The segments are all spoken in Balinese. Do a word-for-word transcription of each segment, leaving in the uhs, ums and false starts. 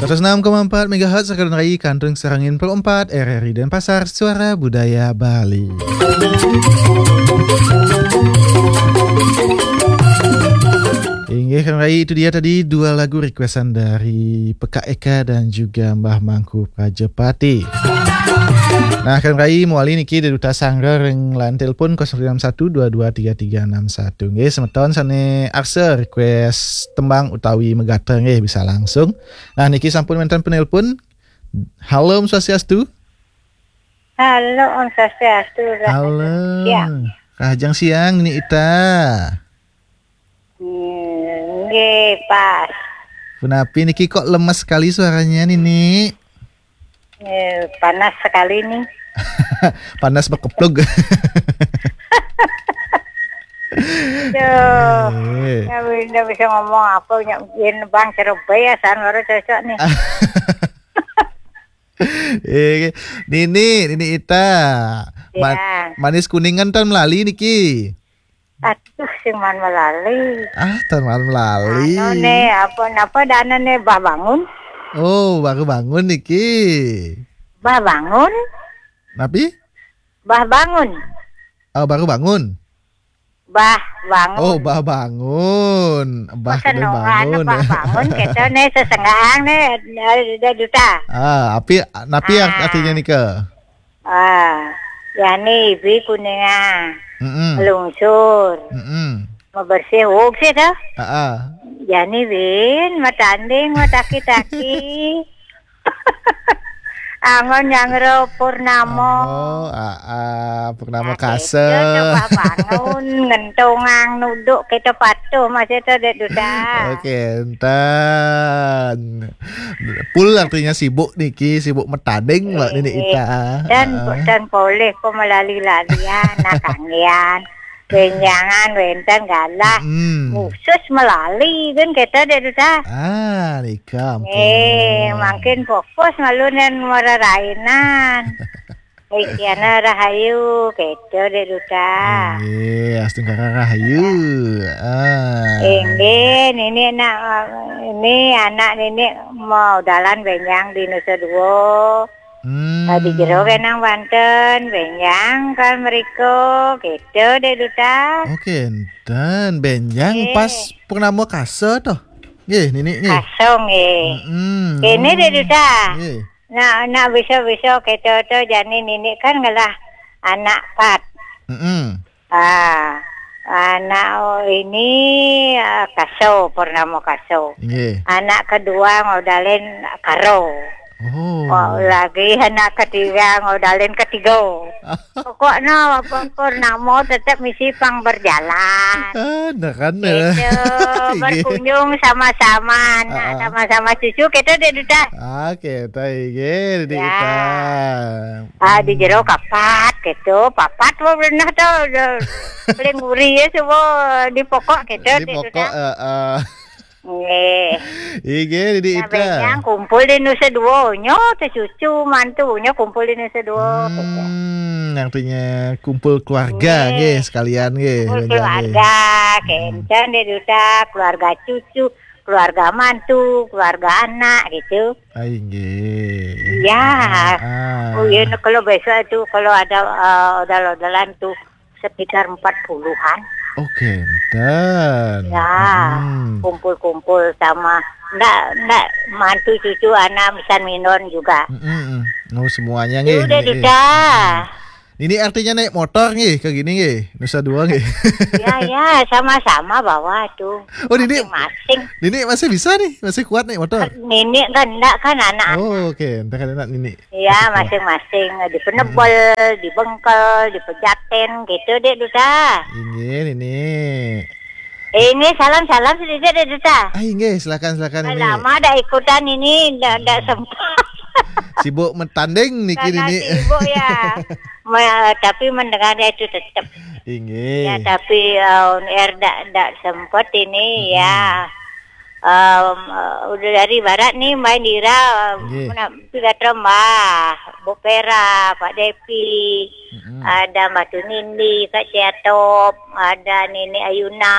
Seratus enam koma empat megahertz, Renggayi Kantun Serangin Pro empat, R R I Denpasar, Suara Budaya Bali. Inggih, Renggayi, itu dia tadi dua lagu requestan dari Peka Eka dan juga Mbah Mangku Prajapati. Nah, Renggayi, mawali niki Dek Duta Sanggar ring line telepon kosong enam satu dua dua tiga tiga enam satu. Nggih, semeton sane arsa request tembang utawi megatra nggih bisa langsung. Nah, niki sampun wenten penelpon. Halo, Om Swastiastu. Halo, Om Swastiastu. Halo. Siang. Rahajeng siang, Nini Ita. Hmm, nggih, pas. Punapi niki kok lemes sekali suaranya, Nini? Eh, panas sekali nih. Panas bekeplug. Duh, eh, nggak, nggak bisa ngomong apa, nggak mungkin Bang Ceroboy ya, san baru cocok nih. Eh, Nini, Nini Ita. Ma-, ya. Manis Kuningan tan melali niki. Aduh, sing man melali. Ah, tan man melali. Anu ne, apa, napa dana ne, Bah Bangun? Oh, baru bangun niki. Bah Bangun? Napi? Bah Bangun. Oh, baru bangun. Bah Bangun. Oh, Bah Bangun. Bah Senongan bangun. Bah Bangun, kita ne sesenggaang ne, eh, Duta. Ah, api, napi art-, ah, artinya nika? Ah, yani ibi Kuningan. Mm-mm. Lungsur. Mm-mm. Mabersih, wog sih, toh? Ah, ah. Yani bin, matanding, mataki-taki. Angon nyangro purnamo. Oh, ah, ah, purnamo. Nah, kasa. Kita coba bangun, ngentungang, nuduk, kita patuh, masih itu, Dek Duta. Oke, entan. Pul artinya sibuk niki, sibuk metading, Mbak Nini Ita. Dan, ah, dan poleh kok melali-lalian, nah, kanggian. Benjangan, wenten galah. Mm-mm. Khusus melali, kan kita, Dek Duta. Ah, nika, ampun. Eh, makin fokus malunen mererainan. Ikiana rahayu, gitu, Dek Duta. Inggih, astungkara rahayu. Ah. Inggih, nini nak, ini anak nini mau dalan benjang di Nusa Dua. Hmm. Di jero kenang banten, benjang kan meriko, gitu, Dek Duta. Oke, enten benjang, eh, pas purnama kasa toh. Nggih, nini nggih. Kasa nggih. Mm-mm. Kene, Dek Duta. Nggih. Nah, nak bisa-bisa kita tu jani nini kan ngelah anak pat. Mm-mm. Ah, anak ini, ah, Kaso, Purnama Kaso. Nggih. Anak kedua ngodalen Karo. Oh. Oh, lagi anak ketiga ngodalen Ketigo. Pokoknya apa Purnama tetap misi pang berjalan. Ah, nah kan, eh. Gitu, nggih. Berkunjung sama-sama, nah, ah, ah, sama-sama cucu kita, Dek Duta. Ah, kita, nggih, Dek Duta. Ya. Ah, di jero kapat gitu, papat wah pernah tuh, udah paling nguri ya, semua di pokok gitu, di Dek pokok, Duta. Eh, eh. Nggih. Inggih, Dek Duta. Nah, benjang kumpul di Nusa Dua, nyo, teh cucu, mantu, nyo kumpul di Nusa Dua, gitu. Hmm, artinya kumpul keluarga, nggih, nggih, sekalian, nggih, kumpul benjang, nggih. Keluarga, hmm, kencang, Dek Duta, keluarga cucu, keluarga mantu, keluarga anak, gitu. Ai, nggih. Iya. Ah, ah. Oh, iya, nah, kalau besok itu, kalau ada, eh, odal-odalan tuh, sekitar empat puluhan. Oke, enten. Ya, hmm, kumpul-kumpul sama, ndak, ndak, mantu cucu anak misan minon juga. Mm-mm. Oh, semuanya nggih, udah nggih, nggih. Duta. Hmm. Ini artinya naik motor nggih, ke gini nggih, Nusa Dua nggih. Ya, ya, sama-sama bawa tuh. Oh, Nini, masing-masing. Nini masih bisa nih, masih kuat naik motor? Nini kan ndak kan anak-anak. Oh, oke, entar kan anak Nini. Iya, masing-masing. Di Penebel, hmm, di Bengkel, di Pejaten, gitu, Dek Duta. Inggih, Nini. Eh, ini salam-salam sedikit, Dek Duta. Ah, inggih, silakan, silakan, Nini. Lama ada ikutan ini, ndak, ndak, hmm, sempat. Sibuk metanding niki, karena Nini. Sibuk, ya. Me-, tapi mendengarnya itu tetap. Inggih. Ya, tapi, eh, on air ndak, ndak sempat ini, hmm, ya. Em, eh, udah dari barat nih, Mbak Indira, nggih, mena-, pidato Mbah. Bu Pera, Pak Depi, ada Mbah Tunindi, Kak Ciatop, ada Nenek Ayuna,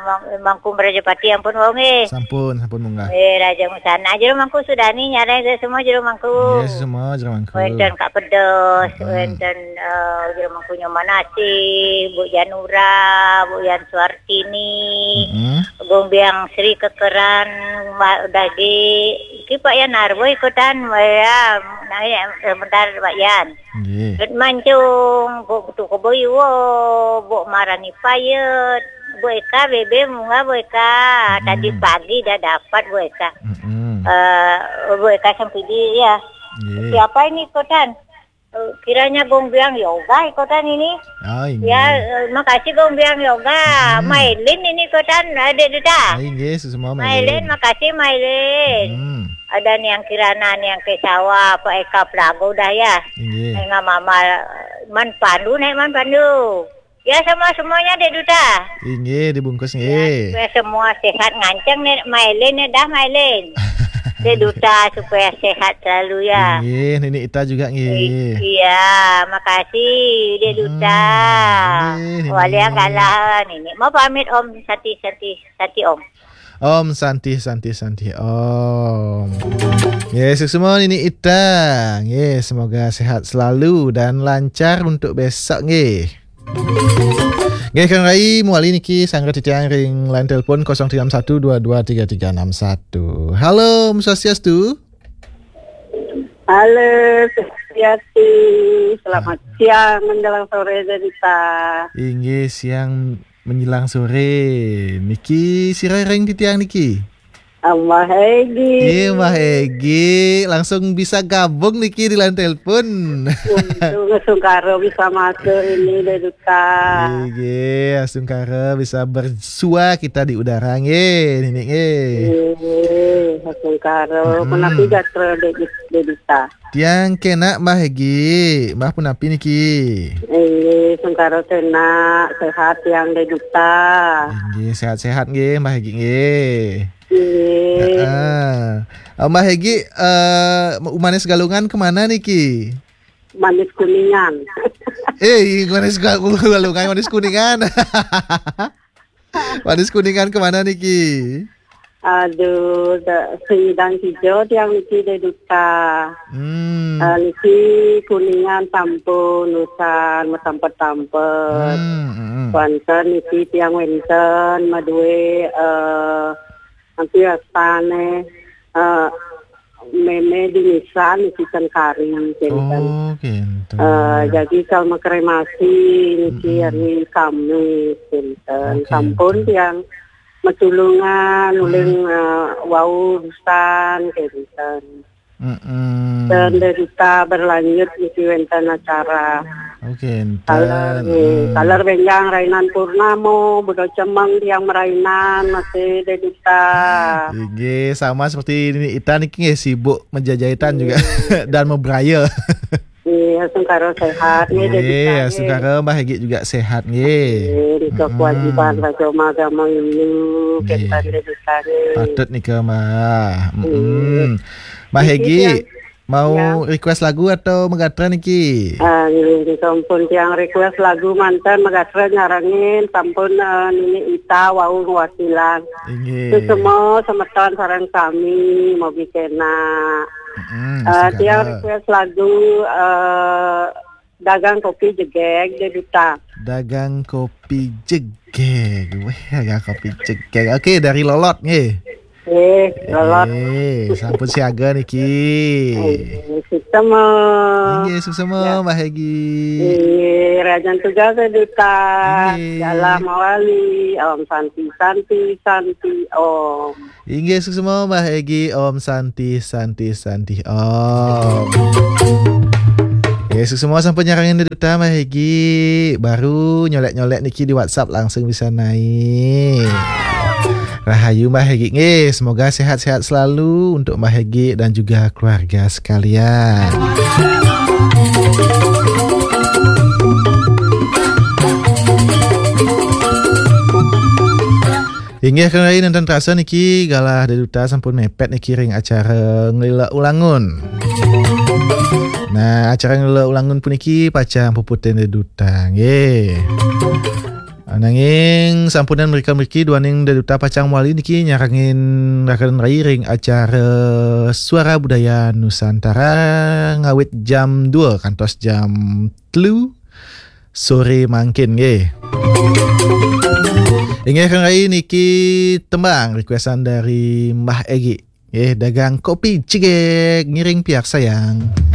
Mang-, Mangku Merajapati, ampun wong eh. Sampun, sampun munggah. Eh, Raja Musana, jero mangku Sudani, nyareng saya semua jero mangku. Nggih, semua jero mangku. Wenten Kak Pedes, wenten, eh, jero mangku Nyoman Asih, Bu Janura, Bu Yan Suartini, Gombiang Sri Kekeran, Mbak Dagi, iki Pak Yan Arbo ikutan, ya, nah, ya, sebentar Pak Yan. Nggih. Ket Mancung, Bu Betu Keboiwo, Bu Marani Payet, Bu Eka, Bebe, Munga, Bu Eka. Tadi pagi dah dapat Bu Eka. Eh, Bu Eka Sempidi, ya. Nggih. Siapa ini ikutan? Eh, kiranya Gombiang Yoga ikutan ini. Oh, inggih. Ya, eh, makasih Gombiang Yoga. Mailin ini ikutan, Adik Duta. Oh, inggih, semua Mailin, Mailin. Makasih Mailin. Ada Niang Kirana, Niang Kesawa, Pak Eka Pelago dah ya. Inggih. Enggak Mama Man Pandu, Nek Man Pandu. Ya, sama semuanya, Dek Duta. Inggih, dibungkus nggih. Ya, supaya semua sehat nganceng nih, Mailin nih dah, Mailin. Dek Duta supaya sehat selalu ya. Inggih, Nini Ita juga nggih. I-, iya, makasih, Dek Duta. Inggih, Nini. Walian galah, Nini. Mau pamit, Om. Santi, Santi, Santi, Om. Om Santi, Santi, Santi, Om. Nggih, sukses semua Nini Ita. Nggih, semoga sehat selalu dan lancar untuk besok nggih. Nggih, Kang Rai, muali niki sangga titiang ring line telepon kosong tiga enam satu dua dua tiga tiga enam satu. Halo, Om Swastiastu. Halo, Swastiastu. Selamat siang menjelang sore, Dek Duta. Inggih, siang menjelang sore. Niki sira ring titiang niki? Mbah Egi. Iya, Mbah Egi. Langsung bisa gabung niki di line telepon. Untung sungkara bisa masuk ini, Dek Duta. Nggih, sungkara bisa bersua kita di udara nggih, Nini nggih. Nggih, sungkara. Punapi gatra, Dek, Dek Duta? Tiang kenak, Mbah Egi. Mbah punapi niki? Nggih, sungkara kenak, sehat tiang, Dek Duta. Nggih, sehat-sehat nggih, Mbah Egi nggih. Nggih. Heeh. Eh, Mbah Egi, eh, Umanis Galungan kemana niki? Manis Kuningan. Eh, Umanis Ga-, Galungan, Manis Kuningan. Manis Kuningan kemana niki? Aduh, da-, sing nyidang kijo tiang niki, Dek Duta. Hmm. Eh, niki Kuningan sampun usan matampet-tampet. Hmm, hmm, hmm. Wenten niki tiang wenten madue, eh, nanti astane, eh, Meme Dinisan niki ten kari, kenten. Oh, kenten. Eh, jadi kal makremasi niki hari Kamis, kenten. Oh, sampun kenten. Tiang matulungan, uling, eh, wau usan, kenten. Mm-mm. Dan Dek Duta berlanjut niki wenten acara. Oh, kenten. Taler, nggih. Taler benjang rainan purnamo, buda cemeng tiang merainan, masih, Dek Duta. Inggih, sama seperti ini, Ita niki nggih sibuk menjajahitan juga dan memberaya. Iya, sungkara sehat nggih, Dek Duta nggih. Sungkara Mbah Egi juga sehat nggih. Nggih, nika kewajiban raga agama ini, kenten, Dek Duta nggih. Patut nika, Mbah. Nggih. Mm-mm. Mbah Egi, mau request lagu atau magatra niki? Ah, nggih, nggih, sampun tiang request lagu manten magatra nyarengin, sampun, eh, Nini Ita wau ngwakilan. Inggih. Sesemo semeton sareng sami, mogi kenak. Mm-mm, eh, tiang request lagu, eh, Dagang Kopi Jegeg, Dek Duta. Dagang Kopi Jegeg. Weh, Dagang Kopi Jegeg. Oke, dari Lolot nggih. Eh, Lolot. Eh, sampun siaga niki. Eh, suksema. Inggih, suksema, ya. Mbah Egi. Inggih, rajan tugas, Dek Duta. Inggih. Dalam mawali, Om Santi, Santi, Santi, Om. Inggih, suksema, Mbah Egi, Om Santi, Santi, Santi, Om. Nggih, suksema sampun nyarengin Dek Duta, Mbah Egi. Baru nyolek-nyolek niki di WhatsApp langsung bisa naik. Rahayu, Mbah Egi. Nggih, semoga sehat-sehat selalu untuk Mbah Egi dan juga keluarga sekalian. Inggih, kenging nenten terasa niki galah Dek Duta sampun mepet niki ring acara Ngelila Ulangun. Nah, acara ngelek ulangun puniki pacang puputang deduta, nggih. Nanging sampunang mrika-mriki duaning deduta pacang mawali niki nyarengin rakan rai ring acara Suara Budaya Nusantara ngawit jam dua kantos jam telu sore mangkin, nggih. Inggih, rakan rai, niki tembang requestan dari Mbah Egi. Nggih, dagang kopi cigek ngiring piarsayang.